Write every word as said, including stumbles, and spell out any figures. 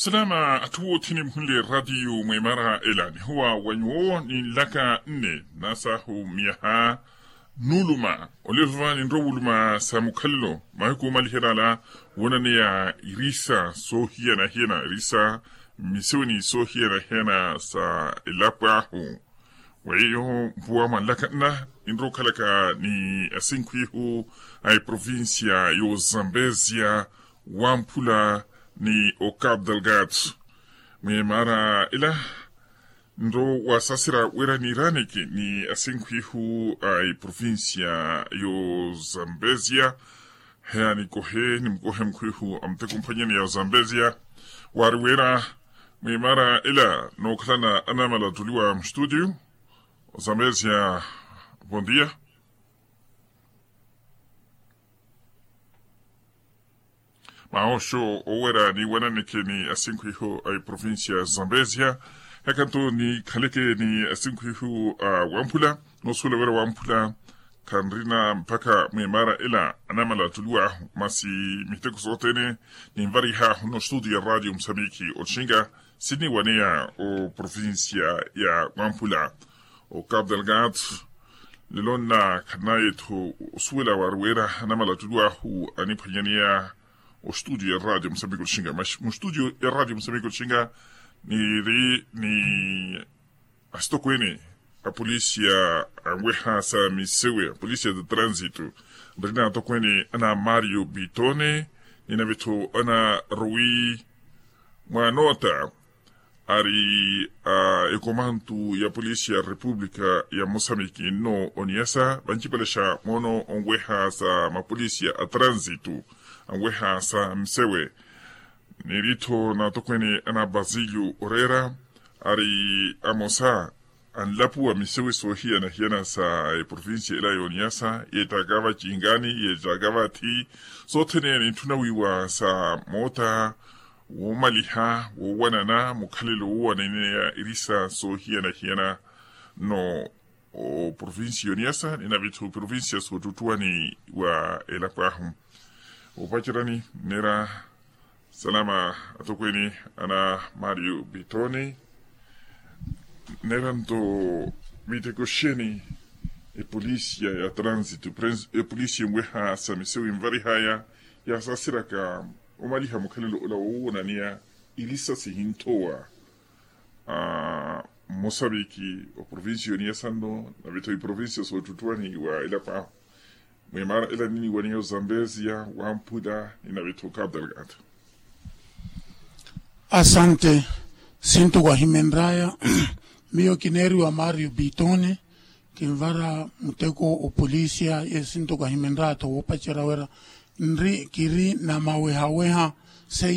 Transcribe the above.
Salama atthu othene muhunle ratiyo mwemara ela nihuwa wa nyuwo ni nlaka nne nasahu miyaha, nuluma olevova ninro wuluma sa mukhalelo mahiku omaliherala, wonaneya irisa sohiyana-hiyana irisa mmiseweni sohiyana-hiyana sa elapo ahu. Weiyo mpuwa mwa nlaka nna ninro okhalaka ni asinkhwihu a eprovincia y'ozambezia, wamphula ni ocapo delgado. Mwemara ela nro wasasira wira niraniki ni asinkhwihu a eprovincia y'ozambezia. Heya nikohe nimukohe mukhwihu a muteko mphwanyani ya ozambezia, wari wira mwemara ela nookhalana anamala attuliwa mustudio. Ozambezia, bon dia. Mahoxo owera ni wananeke ni asinkhwihu a eprovincia ya zambezia. Heka nto nikhaleke ni asinkhwihu a wamphula, noosuwela wira wamphula khanrina mpakha mwemara ela anamala attuliwahu masi miteko sothene, ninvarihaahu nno studio ya radio musamiki otxinga siniwaneya oprovincia ya wamphula. Ocapo delgado lelo nna khannaye-tho osuwela wari wira anamala attuliwahu aniphwanyaneya ostudio ya radio musambiki otxinga mas mustudio ya radio musambiki otxinga niri ni asitokweene apolisia anweha sa misewe apolisia ta transito. Nri natokweene ana mario bitone, ninave-tho ana rui mwanota ari a ekomantu ya polisia ya repupulika ya mosamiki nno oniyasa vancipalexa moono onweha sa mapolisia a transito anweha sa misewe. Niri-tho natokweene ana basilio oreera ari amosa anlapuwa misewe soohiyana-hiyana sa eprovincia ela yooniyasa yeettaka vacingaani yeettaka vathi. Sothene nintthuna wiiwa sa moota woomaliha woowanana mukhalelo woowananiya irisa soohiyana-hiyana nno oprovincia yooniyasa ninave-tho oprovincia soottuttuwani wa elapo ahu. Opacerani nneera salama atokweene ana mario bitoni. Nneera nto miteko xeni epolisia ya transito epolisia enweha sa misewe envarihaya yasasiraka omaliha mukhalelo ola woowonaniya irisa sihinthowa mosaviki oprovincia yoniya sanno nave-tho iprovincia soottuttuwani wa elapo ahu. Mwemara ela niniwaniya ozambezia wamphula ninave-tho capo delgado. Asante. Sintuku ahimenraya miyo kineeriwa mario bitone. Kinvara muteko opolisia ye sintuku ahimenraya-tho woopacerya wira nri kiri na mawehaweha seiye